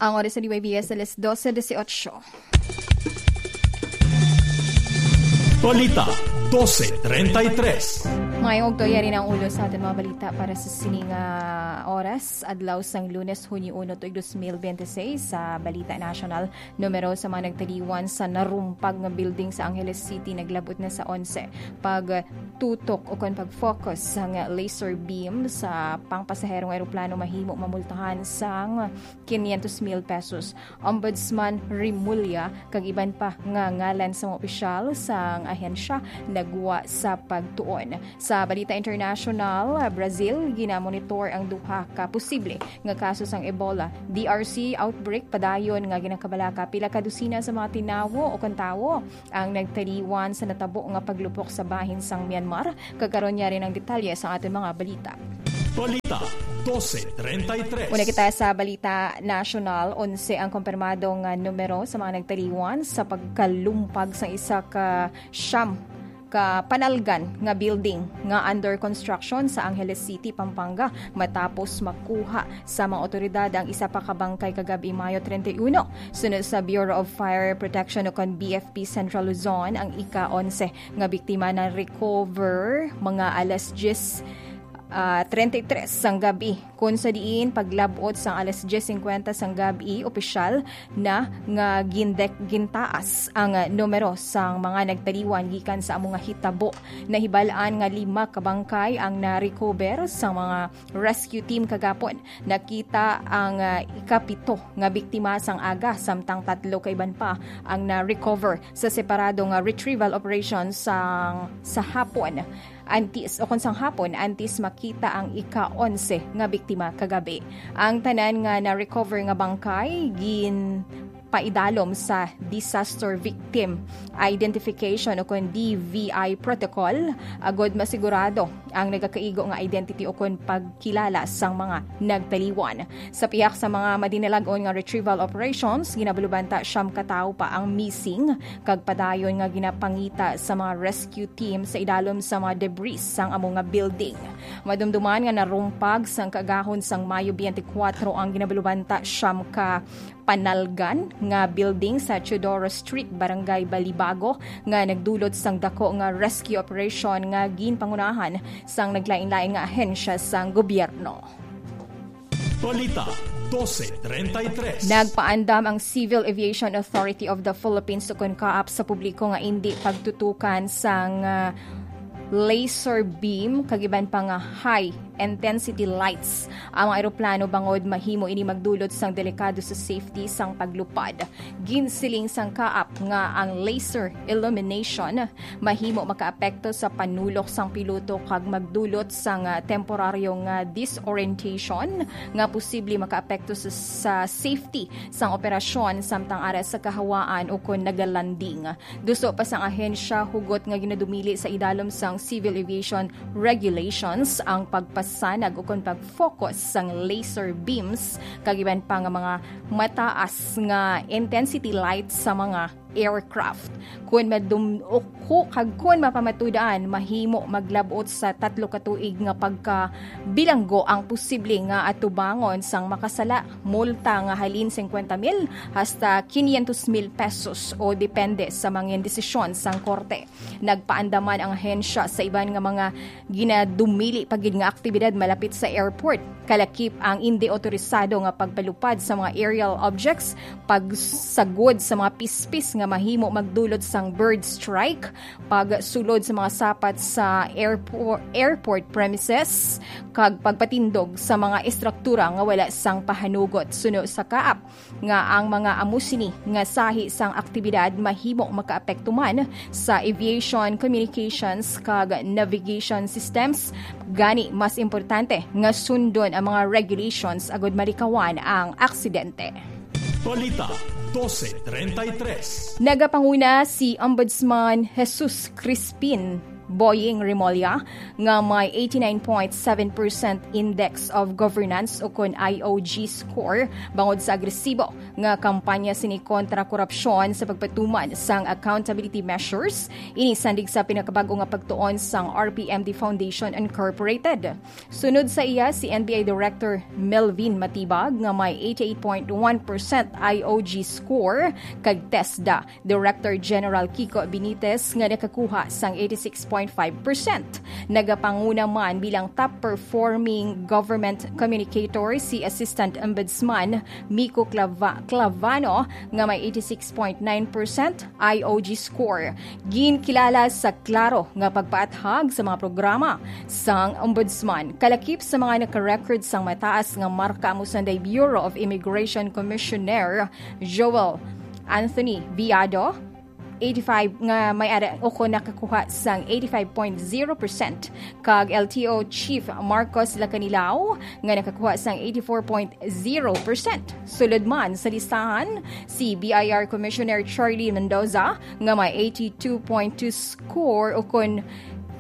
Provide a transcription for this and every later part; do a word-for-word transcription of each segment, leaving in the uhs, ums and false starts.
Ang oras sa D Y B S, alas dose dieciocho. Balita, dose treinta y tres. Mayong ugto, yari na ang ulo sa aton mga balita para sa sining, ah, oras, adlaw sang Lunes, Hunyo uno, tuig dos mil bente seis. Sa Balita National, numero sa mga nagtaliwan sa narumpag nga building sa Angeles City naglabot na sa onse. Pagtutok o kon pag-focus sang laser beam sa pangpasaherong eroplano mahimo mamultahan sang quinientos mil pesos. Ombudsman Remulla kag iban pa nga ngalan sa mga opisyal sang ahensya nagwa sa pagtuon. Sa Balita International, Brazil, ginamonitor ang duha ka posible nga kaso sang Ebola. D R C outbreak padayon nga ginakabalaka, pila ka dosina sa mga tinawo o kon tawo ang nagtaliwan sa natabo nga paglupok sa bahin sang Myanmar. Kag karon, yari ang detalye sa aton mga balita. Balita, dose treinta y tres. Una kita sa Balita National. Onse ang kompirmado nga numero sa mga nagtaliwan sa pagkalumpag sa isa ka siyam ka panalgan nga building nga under construction sa Angeles City, Pampanga, matapos makuha sa mga otoridad ang isa pa ka bangkay kagab-i, Mayo treinta y uno. Sunod sa Bureau of Fire Protection o kon B F P Central Luzon, ang ika-onse nga biktima na-recover mga alas diyes, ah, treinta y tres sang gabi, kun sa diin paglab-ot sang alas diyes cincuenta sang gabi, opisyal na nga gindek-, gintaas ang, ah, numero sang mga nagtaliwan gikan sa amo nga hitabo. Nahibal-an nga lima ka bangkay ang na-recover sang mga rescue team kagapon. Nakita ang, ah, ikapito nga biktima sang aga, samtang tatlo ka iban pa ang na-recover sa separado nga retrieval operation sang, sa hapon. Antes, o kon sang hapon, antes makita ang ika-onse nga biktima kagabi. Ang tanan nga na-recover nga bangkay ginpaidalom sa Disaster Victim Identification o kon D V I protocol, agod masigurado ang nagakaigo nga identity o kon pagkilala sang mga nagtaliwan. Sa pihak sa mga madinalag-on nga retrieval operations, ginabalubanta siyam ka tawo pa ang missing, kag padayon nga ginapangita sa mga rescue team sa idalom sa mga debris sang amo nga building. Madumduman nga narumpag sang kaagahon sang Mayo twenty-four ang ginabalubanta siyam ka panalgan nga building sa Teodoro Street, Barangay Balibago, nga nagdulot sang dako nga rescue operation nga ginpangunahan sang naglain-lain nga ahensya sang gobyerno. Balita, dose treinta y tres. Nagpaandam ang Civil Aviation Authority of the Philippines, o kon CAAP, sa publiko nga indi pagtutukan sang, ah, laser beam kag iban pa nga high intensity lights ang mga eroplano, bangod mahimo ini magdulot sang delikado sa safety sang paglupad. Ginsiling sang CAAP nga ang laser illumination mahimo makaapekto sa panulok sang piloto kag magdulot sang, ah, temporaryo nga disorientation nga posible makaapekto sa, sa safety sang operasyon samtang ara sa kahawaan o kon nagalanding. Duso pa sang ahensya, hugot nga ginadumili sa idalom sang civil aviation regulations ang pagpasanag o kon pag-focus sang laser beams kag iban pa nga mga mataas nga intensity lights sa mga aircraft. Kun madum-, o ku-, kag kun mapamatudan, mahimo maglab-ot sa tatlo ka tuig nga pagkabilanggo ang posible nga atubangon sang makasala, multa nga halin cincuenta mil hasta quinientos mil pesos, o depende sa mga desisyon sang korte. Nagpaandaman ang ahensya sa iban nga mga ginadumili pa gid nga aktibidad malapit sa airport, kalakip ang indi otorisado nga pagpalupad sa mga aerial objects, pagsagod sa mga pispis nga mahimo magdulot sang bird strike, pagsulod sa mga sapat sa airpor-, airport premises, kag pagpatindog sa mga estruktura nga wala sang pahanugot. Suno sa CAAP, nga ang mga amo sini nga sahi sang aktibidad mahimo makaapekto man sa aviation, communications, kag navigation systems. Gani, mas importante nga sundon ang mga regulations agud malikawan ang aksidente. Balita, dose treinta y tres. Nagapanguna si Ombudsman Jesus Crispin Boying Remulla nga may eighty-nine point seven percent Index of Governance o kon I O G score bangod sa agresibo nga kampanya sini kontra korupsyon sa pagpatuman sang accountability measures, ini sandig sa pinakabag-o nga pagtuon sang R P M D Foundation Incorporated. Sunod sa iya, si N B I Director Melvin Matibag nga may eighty-eight point one percent I O G score, kag TESDA Director General Kiko Benitez nga nakakuha sang eighty-six point five percent. Nagapanguna man bilang top performing government communicator si Assistant Ombudsman Miko Clava-, Clavano nga may eighty-six point nine percent I O G score. Ginkilala sa klaro nga pagpaathag sa mga programa sang Ombudsman, kalakip sa mga naka-record sang mataas nga marka amo sanday Bureau of Immigration Commissioner Joel Anthony Viado, eighty-five nga may ara o kon nakakuha sang eighty-five point zero percent, kag L T O Chief Marcos Lacanilao nga nakakuha sang eighty-four point zero percent. Sulod man sa listahan, si B I R Commissioner Charlie Mendoza nga may eighty-two point two score o kon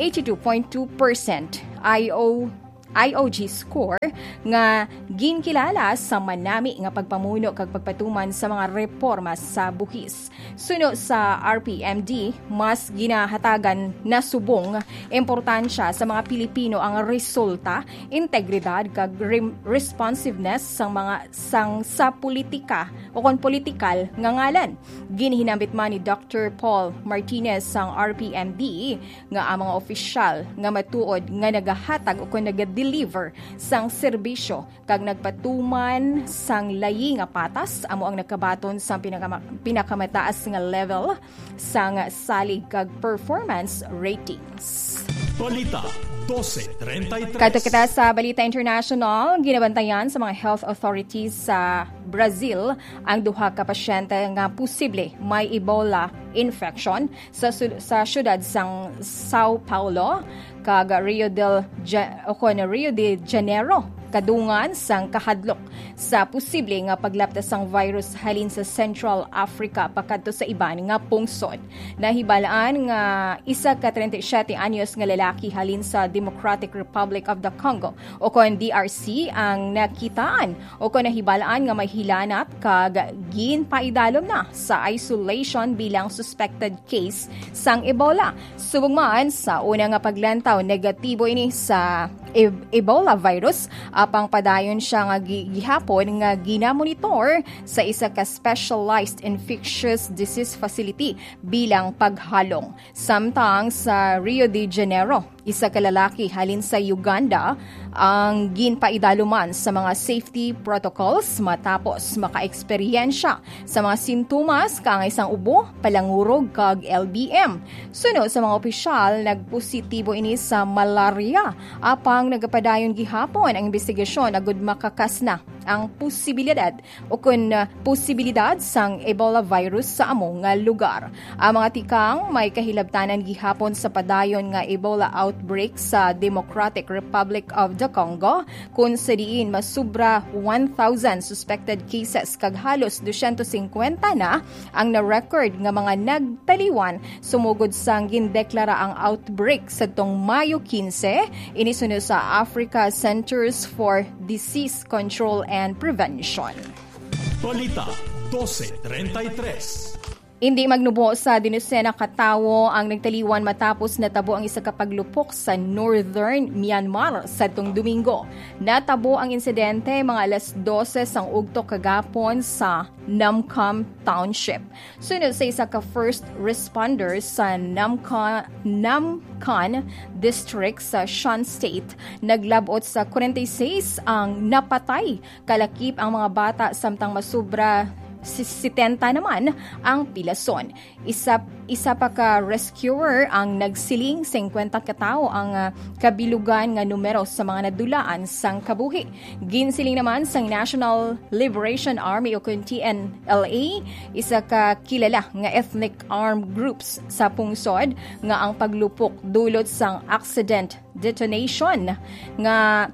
eighty-two point two percent I O I O G score nga ginkilala sa manami nga pagpamuno kag pagpatuman sa mga reporma sa buhis. Suno sa R P M D, mas ginahatagan na subong importansya sa mga Pilipino ang resulta, integridad kag rem-, responsiveness sang mga sang sa politika o kon politikal nga ngalan. Ginhinambit man ni Doctor Paul Martinez sang R P M D nga ang mga opisyal nga matuod nga nagahatag o kon naga-deliver sang serbisyo kag nagpatuman sang layi nga patas amo ang nakabaton sang pinakama-, pinakamataas nga level sang salig kag performance ratings. Balita dose treinta y tres. Kadto kita sa balita international, ginabantayan sa mga health authorities sa Brazil ang duha ka pasyente nga posible may Ebola infection sa su-, sa siyudad sang São Paulo kag Rio del Ja-, o kon Rio de Janeiro, kadungan sang kahadlok sa posible nga paglapta sang virus halin sa Central Africa pakadto sa iban nga pungsod. Nahibalaan nga isa ka treinta y siete anyos nga lalaki halin sa Democratic Republic of the Congo, o kon D R C, ang nakitaan o kon nahibalaan nga may hilanat kag ginpaidalom na sa isolation bilang suspected case sang Ebola. Subong man sa una nga paglantaw, negatibo ini sa e-, Ebola virus, apang padayon siya nga gi-, gihapon nga ginamonitor sa isa ka specialized infectious disease facility bilang paghalong. Samtang sa Rio de Janeiro, isa ka lalaki halin sa Uganda ang ginpaidaluman sa mga safety protocols matapos makaeksperyensya sa mga sintomas kaangay sang ubo, palangurog, kag L B M. Suno sa mga opisyal, nagpositibo ini sa malaria, apang nagapadayon gihapon ang investigasyon agud makakas na ang posibilidad o kon, ah, posibilidad sang Ebola virus sa amo nga lugar. Ang mga tikang may kahilabtanan gihapon sa padayon nga Ebola outbreak sa Democratic Republic of the Congo, kun sa diin masubra one thousand suspected cases kag halos dosyentos singkwenta na ang na-record nga mga nagtaliwan sumugod sang gindeklara ang outbreak sadtong Mayo quince, ini suno sa Africa Centers for Disease Control and Prevention. Balita dose treinta y tres. Indi magnubo sa dinosena ka tawo ang nagtaliwan matapos natabo ang isa ka paglupok sa northern Myanmar sadtong Domingo. Natabo ang insidente mga alas dose sang ugto kagapon sa Namkham Township. Suno sa isa ka first responder sa Namkha-, Namkhan District sa Shan State, naglab-ot sa forty-six ang napatay, kalakip ang mga bata, samtang masubra si-, setenta naman ang pilason. Isa, isa pa ka rescuer ang nagsiling, singkwenta ka tawo ang, ah, kabilugan nga numero sa mga nadulaan sang kabuhi. Ginsiling naman sang National Liberation Army o kun T N L A, isa ka kilala nga ethnic armed groups sa pungsod, nga ang paglupok dulot sang accident detonation nga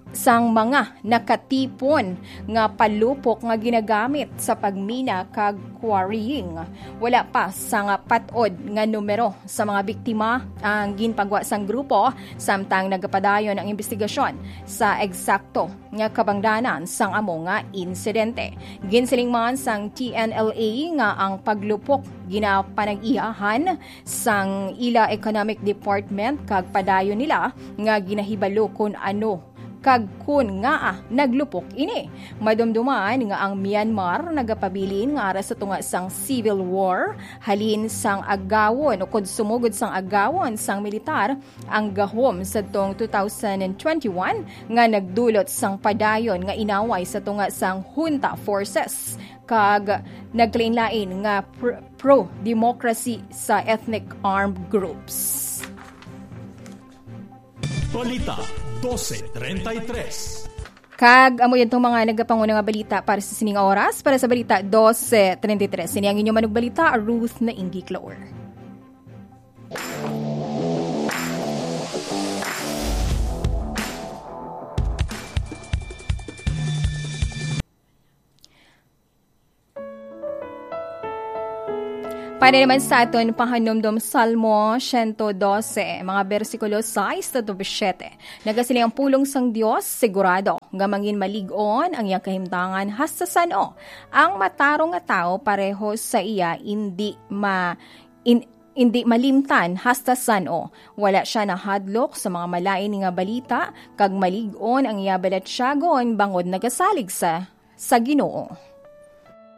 sang mga nakatipon nga palupok nga ginagamit sa pagmina kag quarrying. Wala pa sang pat-od nga numero sa mga biktima ang ginpagwa sang grupo, samtang nagapadayon ang imbestigasyon sa eksakto nga kabangdanan sang amo nga insidente. Ginsiling man sang T N L A nga ang paglupok ginapanag-iyahan sang ila Economic Department kag padayon nila nga ginahibalo kon ano kag kon ngaa naglupok ini. Madumduman nga ang Myanmar nagapabilin nga ara sa tunga sang civil war, halin sang agawon o kon sumugod sang agawon sang militar ang gahom sadtong two thousand twenty-one nga nagdulot sang padayon nga inaway sa tunga sang junta forces kag nagkalain-lain nga pr- pro-democracy sa ethnic armed groups. Balita dose treinta y tres. Kag amo yun tong mga nagapanguna nga balita para sa sining oras. Para sa balita dose treinta y tres, ini ang inyong manugbalita, Ruth Naingi Clore. Para naman sa aton pahanumdom, Salmo siyento dose, mga bersikulo sais hasta siete. Nagasiling ang pulong sang Dios, "Sigurado nga mangin malig-on ang iyang kahimtangan hasta san-o. Ang matarong nga tawo pareho sa iya indi ma-, in-, indi malimtan hasta san-o. Wala siya nahadlok sa mga malain nga balita, kag malig-on ang iya balatyagon bangod nagasalig sa, sa Ginoo."